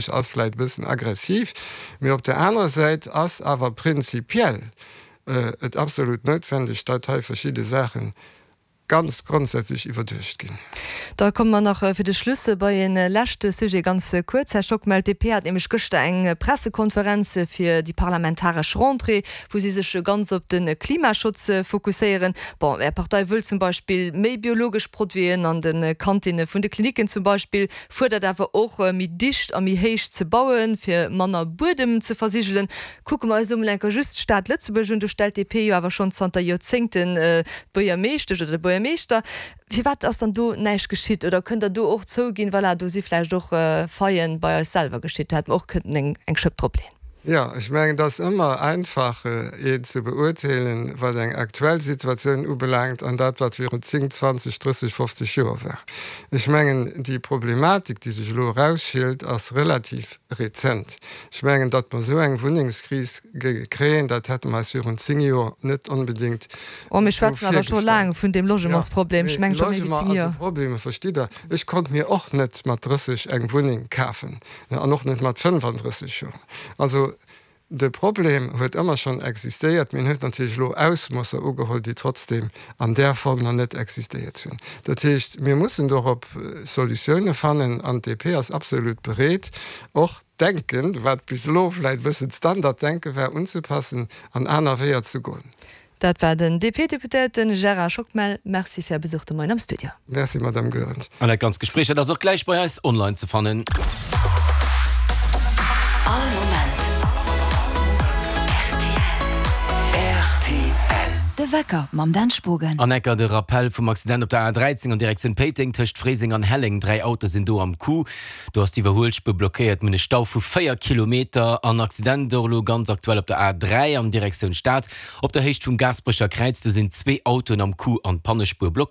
Ass vläit e bëssen aggressiv, mee op der anerer Säit ass awer prinzipiell et absolut noutwendeg, datt hei verschidde Saache ganz grondsätzlech iwwerduecht ginn. Da komme mer nach fir de Schluss bei e leschte Sujet ganz kuerz, Här Schockmel. D'DP hat nämlech gëschter eng Pressekonferenz fir déi parlamentaresch Rentrée, wou si sech ganz op de Klimaschutz fokusséieren. Bon, Är Partei wëll zum Beispill méi biologesch Produiten an de Kantinne vun de Klinicken zum Beispill. Fuerdert awer och, méi dicht a méi héich ze bauen, fir manner Buedem ze versigelen. Kucke mer eis emol enker just d'Stad Lëtzebuerg un, do stellt d'DP jo awer schonn zanter Joerzéngten d'Buergermeeschtesch oder de Buergermeeschter. Firwat ass dann do näischt geschitt? Oder kënnt Der do och zouginn, voilà, do si vläicht och Faillen bei eis selwer geschitt, do hätte mer och kënnten eng Schëpp dropleeën? Jo, ech mengen, et ass ëmmer einfach, een ze beurteelen, wat eng aktuell Situatioun ubelaangt an dat, wat virun 10, 20, 30, 50 Joer war. Ech mengen, déi Problematik, déi sech elo erausschielt, ass relativ rezent. Ech mengen, datt mer esou eng Wunnengskris géinge kréien, dat hätte mer eis virun 10 Joer net onbedéngt esou virgestallt. Oh, mir schwätzen awer scho laang vun deem Logementsproblem. Ech mengen, scho méi wéi 10 Joer. Logement ass e Problem, verstitt Der. Ech konnt mir och net mat 30 eng Wunneng kafen. An och net mat 35 Joer. Also de Problem huet ëmmer schonn existéiert, mee en huet natierlech elo Ausmosser ugeholl, déi trotzdeem an där Form nach net existéiert hunn. Dat heescht, mir mussen dorop Solutioune fannen an d'DP ass absolut bereet, och d'Denken, wat bis elo vläicht e bëssen d'Standarddenke war, unzepassen an aner Weeër ze goen. Dat war den DP-Deputéierte Gérard Schockmel. Merci fir Är Besuch de Moien am Studio. Merci, Madame Goerens. An dat ganzt Gespréich, dat ass och gläich bei eis online ze fannen. All Moment rtl. De Wecker mam Dan Spogen. An enker de Rappel vum Accident op der A 13 an Direktioun Péiteng tëscht Fréiseng an Helleng. 3 Autoe sinn do am Coup. Do ass d'Iwwerhuelspuer blockéiert. Mir hunn e Stau vu 4 Kilometer. An Accident och elo ganz aktuell op der A 3 an Direktioun Stad. Op der Héicht vum Gaasperecher Kräiz, do sinn zwee Autoen am Coup an d'Pannespuer blockéiert.